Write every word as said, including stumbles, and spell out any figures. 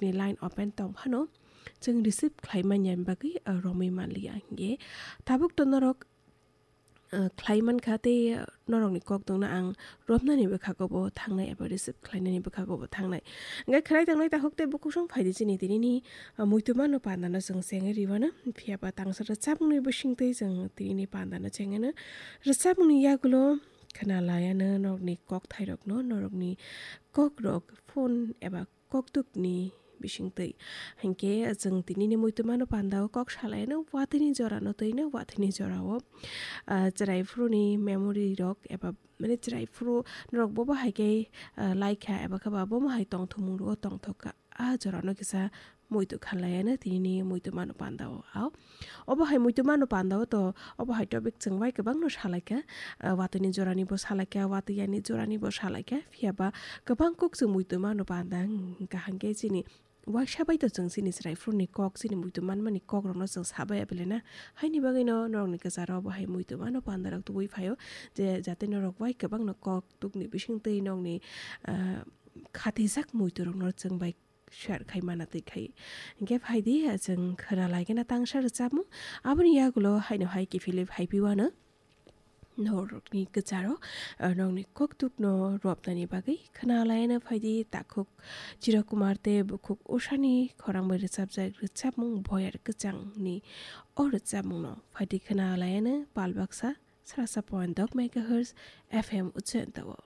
ni line open tong phano chwng receive khlai manya bagwi, ah, romwi manliya. Hinkhe tabuk to norok, ah, khlai mankha tei, ah, norokni kokdokno ang romnani bwkhago bo thangnai eba receive khlainani bwkhago bo thangnai. Hinkhe khwnai tongnai takhuk tei bukhuk song phaidi chini tinini, ah, muitu mano pandano chwng chengwi riwano. Phiyaba tangsa rwchapmungni bisingtwi chwng tinini pandano chengano. Rwchapmungni yagulo khwna layano norokni kokthairokno, norokni kokrok phone eba kokdukni bisingtwi. Hinkhe chwng tinini muitu mano pandao kok salaino watwini jorano twino watwini jorao, ah, chwrai phuruni memory rok eba mane chwrai phuru norok bobo hai khe, ah, laikha eba khe ba bomo hai tongthokmung rwo tongthokha. Ah, jorano kisa muitu khalayano tinini muitu mano pandao. Ao, obo hai muitu mano pandao to, obo hai topic chwng bai kwbangno salaikha, ah, watwini jorani bo salaikha, watwi yani jorani bo salaikha. Phiyaba kwbang kuk chwng muitu mano panda, hwnkha hwnkhe chini waisa bai to chwng chini chwrai phuruni kok, chini muitu manmani kokrokno chwng sabai abelena. Haini bagwino norokni kwcharo obo hai muitu mano pandarok tubui phaio, je jate norok bai kwbangno kokdukni bisingtwi nokni, ah, khatijak muiturokno chwng bai share khai mana twi khai. Hinkhe phaidi, ah, chwng khwna lai khe na tangsa rwchapmung. Aboni yagulo haino hai kiphilwi phaipiwano norokni kwcharo, ah, nokni kokdukno rwpnani bagwi khwna layano phaidi takhuk Chira Kumar tei bukhuk Ushani khorang bai rwchapjak rwchapmung Boyar Kwchangni o rwchapmungno phaidi khwna layano pal baksa srasa point dok megahertz F M Ujjayanta o.